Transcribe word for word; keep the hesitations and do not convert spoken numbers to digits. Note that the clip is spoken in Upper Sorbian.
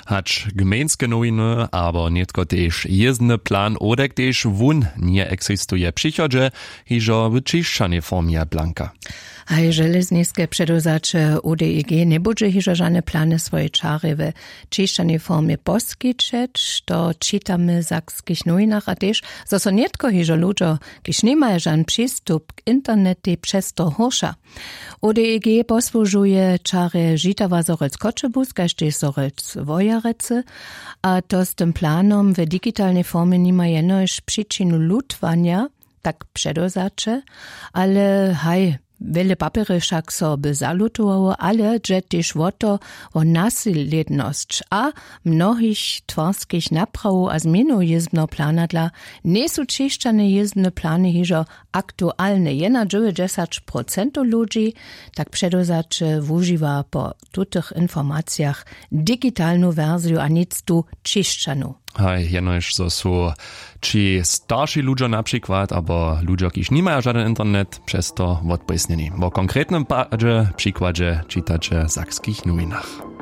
Hač gmejnske nowiny abo nětko tež jězbny plan odek tež wón njeexistuje w přichodźe, hižo w ćišćanej formje blanka. Haj železniske předewzaće u deg njebudźe hižo žane plany swojej čarje w ćišćanej formje poskićeć, to čitamy w sakskich nowinach a tež, zo so nětko hižo ludźo, kiž nimaju žan přistup k internetej, přez to hórša. Odeg posłužuje čarje žitawa zorec choćebuz kaž tež zorec wojerecy. A to z tym planom w digitalnej formje nima jenož přičinu lutwanja, tak předewzaće, ale haj, wjele papjery wšak so by zalutowało, ale dźe tež wo to, wo naslědnosć a mnohich twarskich naprawow a změnow jězbneho plana dla njejsu ćišćane jězbne plany hižo aktualne jena dźewjećdźesać procentow ludźi, tak předewzaće wužiwa po tutych informacijach digitalnu wersiju a nic tu ćišćanu. Haj, jenož zo su ći starši ludźo na přikład abo ludźo kiž nimaja žaden internet přez to wotpójsnjeni. Wo konkretnym padźe přikładźe čitaće w sakskich nowinach.